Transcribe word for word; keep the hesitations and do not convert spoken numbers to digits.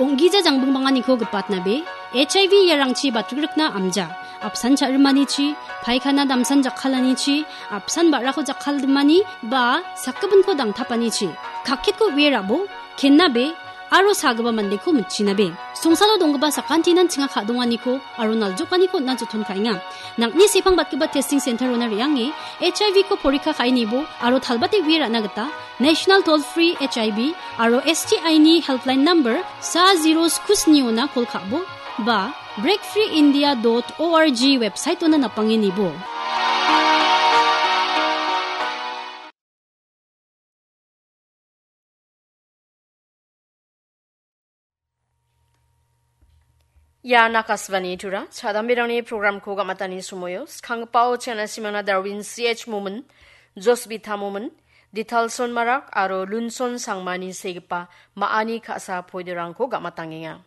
Ong·gija jangbingbanganiko gipatnabe, H I V iarangchi batrikrikna amja, apsan cha·rimanichi, paikana damsan jakkalanichi, apsan ba·rako jakkaldimani, ba sakgipinko dangtapanichi, kakketko uie rabo, kennabe, aro sagipa mandeko mitchinabe. Songsalo donggipa sakantinan chinga ka·donganiko aro naljokaniko on·na joton ka·enga. Nang·ni sepangbatgipa testing center-ona re·ange H I V-ko porikka ka·e nibo aro talbate uie ra·na gita National Toll Free H I V aro S T I-ni helpline number sa zero sku sni-ona kol ka·bo ba break free india dot org website-ona napange nibo. Ia Akashvani Tura, chadamberangni programko gamatani somoio, skanggipao chena simangna Darwin C H Momin, Josbita Momin, Ditalson Marak aro Lunson Sangmani segipa ma·ani ka·sa poidorangko gamatangenga.